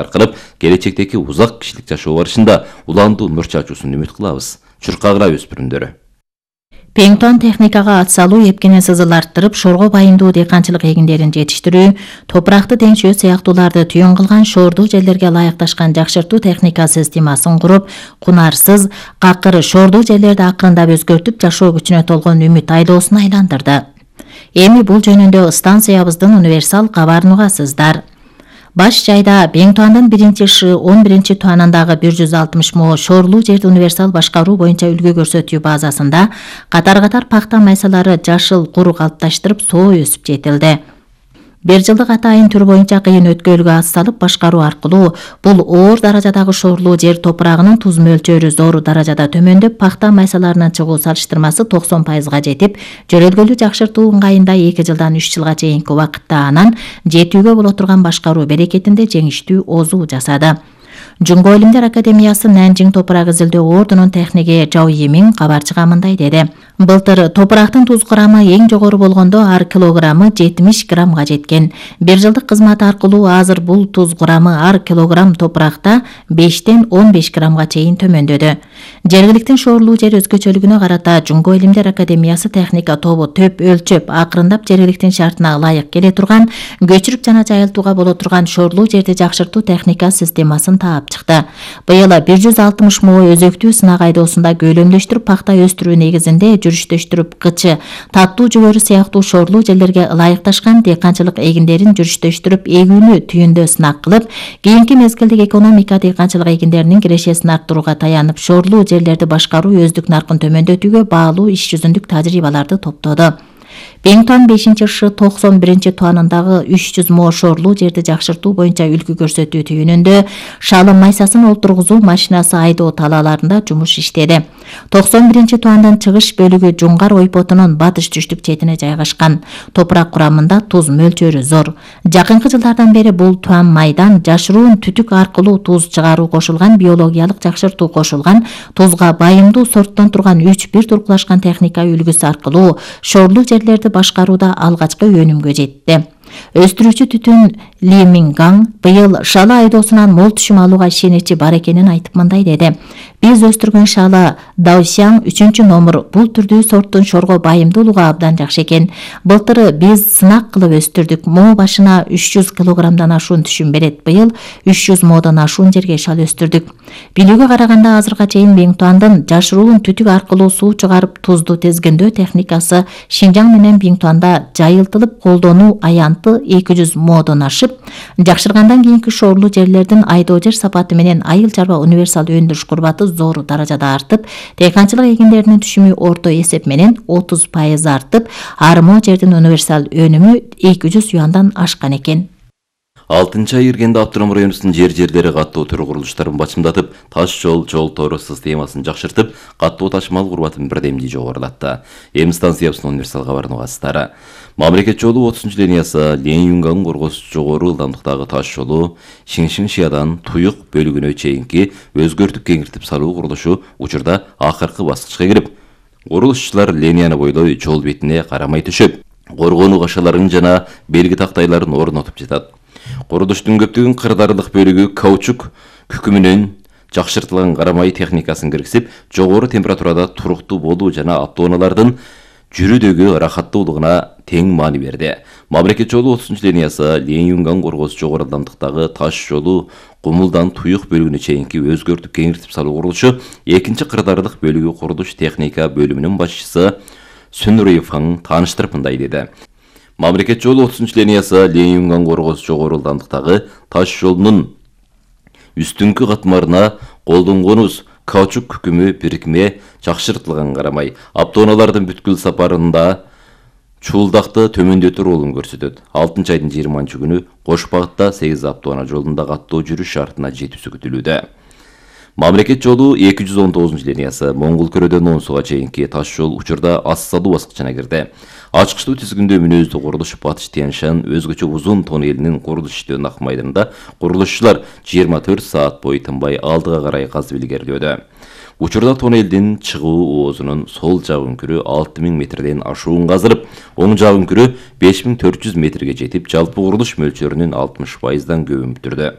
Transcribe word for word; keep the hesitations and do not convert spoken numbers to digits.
аркылап келечектеги узак кишилик жашоо барышында уландуу нур чачуусун үмүт кылабыз. Чуркагыра өспүрүмдөрү. Пеңтон техникага ат салуу, эпкене сызыл арттырып, шорго байымдуу дыйканчылык эгиндерин жетиштирүү, топуракты теңшөө сыяктууларды түйүн кылган шоордуу жерлерге ылайыкташкан жакшыртуу техника системасын куруп, кунарсыз, какыр шоордуу жерлерди акырындап өзгөртүп, жашоо күчүнө толгон үмүт айлоосуна айландырды. Эми бул жөнүндө станциябыздын универсал кабарын угасыздар. Баш жайда Беңтуандын биринчи Ш он биринчи туанындагы бир жүз алтымыш мо шоорлуу жерди универсал башкаруу боюнча үлгү көрсөтүү базасында катар-катар пахта майсалары жашыл кур калыпташтырып соо өсүп жетилди. Бир жылдык атайын түр боюнча кыйын өткөлгө ат салып башкаруу аркылуу бул оор даражадагы шоорлуу жер топурагынын туз мөлчөрү зор даражада төмөндөп, пахта майсаларынын чыгуу салыштырмасы токсон пайызга жетип, жөрөлгөлүү жакшыртуу ыңгайында эки жылдан үч жылга чейинки убакытта анан жетүүгө боло турган башкаруу берекетинде жеңиштүү озуу жасады. Жунго илимдер академиясы Нанжиң топурак изилдөө ордунун техниги Жау Емин кабар чыга мындай деди. Былтыр топурактын туз курамы эң жогору болгондо ар килограммы жетимиш граммга жеткен. Бир жылдык кызмат аркылуу азыр бул туз курамы ар килограмм топуракта бештен он беш граммга чейин төмөндөдү. Жергиликтин шоорлуу жер өзгөчөлүгүнө карата Жунго илимдер академиясы техника тобу төп өлчөп, акырындап жергиликтин шартына ылайык келе турган, көчүрүп жана жайылтууга боло турган шоорлуу жерди жакшыртуу техника системасын таап чыкты. Быйыл бир жүз алтымыш мо өзөктүү сынак айдоосунда көйлөмдөштүрүп пахта өстүрүү негизинде жүрүштөштүрүп кычы, таттуу жүгөрү сыяктуу шоорлуу жерлерге ылайыкташкан дыйканчылык эгиндерин жүрүштөштүрүп эгүүнү түйүндө сынак кылып, кийинки мезгилдик экономика дыйканчылык эгиндеринин кирешесин арттырууга таянып, шоорлуу жерлерди башкаруу өздүк наркын төмөндөтүүгө баалуу иш жүзүндүк тажрыйбаларды топтоду. Беңтон бешинчи Ш токсон биринчи туанындагы үч жүз мо шоорлуу жерди жакшыртуу боюнча үлгү көрсөтүү түйүнүндө шалым майсасын олтургузуу машинасы айдоо талааларында жумуш иштеди. токсон биринчи туандын чыгыш бөлүгү Жуңгар ойпотунун батыш түштүк четине жайгашкан. Топурак курамында туз мөлчөрү зор. Жакынкы жылдардан бери бул туан майдан жашыруун түтүк аркылуу туз чыгаруу кошулган, биологиялык жакшыртуу кошулган, тузга байымдуу сорттон турган үч бир туркулашкан техника үлгүсү аркылуу шоорлуу жерлерди башкарууда алгачкы өнүмгө жетти. Өстүрүүчү түтүн Ли Мингаң быйыл шалы айдоосунан мол түшүм алууга ишеничи бар экенин айтып мындай деди. Биз өстүргөн шалы Даосяң үчүнчү номер бул түрдүү сорттун шорго байымдуулугу абдан жакшы экен. Былтыр биз сынак кылып өстүрдүк. Мо башына үч жүз килограммдан ашуун түшүм берет. Быйыл үч жүз модон ашуун жерге шал өстүрдүк. Билүүгө караганда азыркка чейин Беңтуандын жашыруун түтүк аркылуу суу чыгарып тузду тезгиндөө техникасы Шинжаң менен Беңтуанда жайылтылып колдонуу аянты эки жүз модон ашып, жакшыргандан кийинки шоорлуу жерлердин айдоо жер сапаты менен айыл чарба универсал өндүрүш курбаты зор даражада артып, дыйканчылык эгиндеринин түшүмү орто эсеп менен отуз пайыз артып, армо жердин универсал өнүмү эки жүз юандан ашкан экен. алтынчы ай киргенде Абдурам районунун жер жерлери каттоо төр курулуштарын бачымдатып, таш жол, жол тору системасын жакшыртып, каттоо ташмал курбатын бирдемдүү жогорулатты. Эми станциябыздын универсал кабарын угасыздар. Мамлекет жолу отузунчу линиясы Ленин-Юнган коргос жогору ылдамдыктагы таш жолу Шиңшиң-Шиядан Туюк бөлүгүнө чейинки өзгөртүп кеңиртип салуу курулушу учурда акыркы баскычка кирип, курулушчулар линияны бойлой жол бетине карамай төшөп, коргонуу кашаларын жана белги тактайларын орнотуп жатат. Курулуштун көптөгөн кырдаарлык бөлүгү каучук күкүмүнөн жакшыртылган карамай техникасын киргизип, жогору температурада туруктуу болуу жана автоунаалардын жүрүүдөгү рахаттуулугуна тең маани берди. Мамлекет жолу отузунчу линиясы Ленин-Юнган коргос жогору ылдамдыктагы таш жолу Кумулдан Туюк бөлүгүнө чейинки өзгөртүп кеңиртип салуу курулушу экинчи кырдаарлык бөлүгү курулуш техника бөлүмүнүн башчысы Сүнүрөйеваң тааныштырып мындай деди. Мамлекет жолу отузунчу линиясы Ленин-Юнган коргос жогору ылдамдыктагы таш жолунун үстүңкү катмарына колдонгонубуз каучук күкүмү бирикме жакшыртылган карамай, автоунаалардын бүткүл сапарында чуулдакты төмөндөтүү ролун көрсөтөт. алтынчы айдын жыйырманчы күнү кош багытта сегиз автоунаа жолунда каттоо жүрүш шартына жетүүсү күтүлүүдө. Мамлекет жолу эки жүз он тогузунчу линиясы Моңгол көрөдөн Онсуга чейинки таш жол учурда ас салуу баскычына кирди. Ачкычтуу тизгиндөө мүнөздүү курулуш Батыш Тянь-Шань өзгөчө узун тоннелинин курулуш иштөө ак майданында курулушчулар жыйырма төрт саат бою тынбай алдыга карай казып илгерилөөдө. Учурда тоннелдин чыгуу оозунун сол жак үңкүрү алты миң метрден ашуун казылып, оң жак үңкүрү беш миң төрт жүз метрге жетип, жалпы курулуш мөлчөрүнүн алтымыш пайыздан көбүн бүтүрдү.